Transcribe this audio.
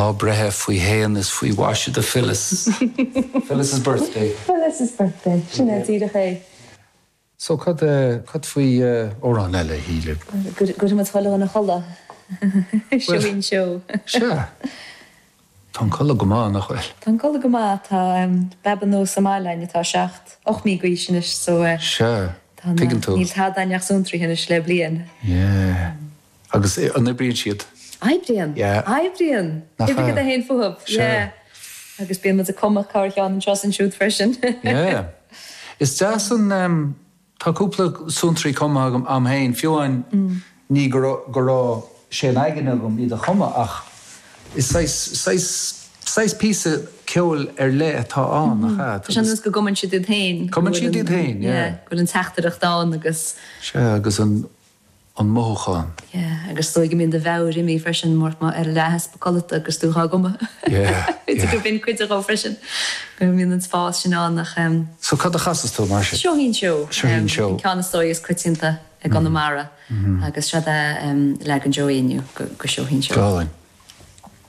Lá breithe faoi shéan is faoi mhaise do Phyllis. Phyllis's birthday. Phyllis's birthday. Sin é díreach é. So cad, cad faoi amhrán eile, a Shíle? Go gcuirfidh muid chuile dhuine a chodladh. Seoithín Seó. Sea. Tá an codladh go maith, nach bhfuil? Tá an codladh go maith. Tá baby nua sa mbaile againn atá 7, 8 mí d'aois anois so Sea. tá na, Tuigeann tú. níl tada againn ach suantraithe anois le bliain. Yeah. Agus an oibríonn siad? Oibríonn! Yeah. Oibríonn! Nach ea? Oibríonn a théann fúthu. Sea. Yeah. Agus bíonn muid ag cumadh corrcheann anseo is ansiúd freisin. Yeah. Is deas an, tá cúpla suantraí cumtha agam a'm féin, fiú amháin ní go raibh, go raibh sé in aigne agam iad a chumadh ach is saghas, saghas, saghas píosa ceoil ar leith atá ann, nach ea? Tá sé ar nós go gcumann siad iad féin. Cumann siad iad féin, yeah. Yeah, go bhfuil an teachtaireacht ann agus. Sea, agus an, an mothúchán. Yeah, agus is dóigh go mbíonn do mheabhair imithe freisin mar ar a leath-easpa codlata agus tú dhá gcumadh. Yeah, B'fhéidir yeah. gurb in cuid dhó freisin, go mbíonn an spás sin ann ach ehm. So cad a chasfas tú mar sin? Seoithín Seó. Seoithín Seó. An ceann is dóigh is coitianta i gConamara agus seo é leagan Joe Éinniú go Seoithín Seó. Go hálainn.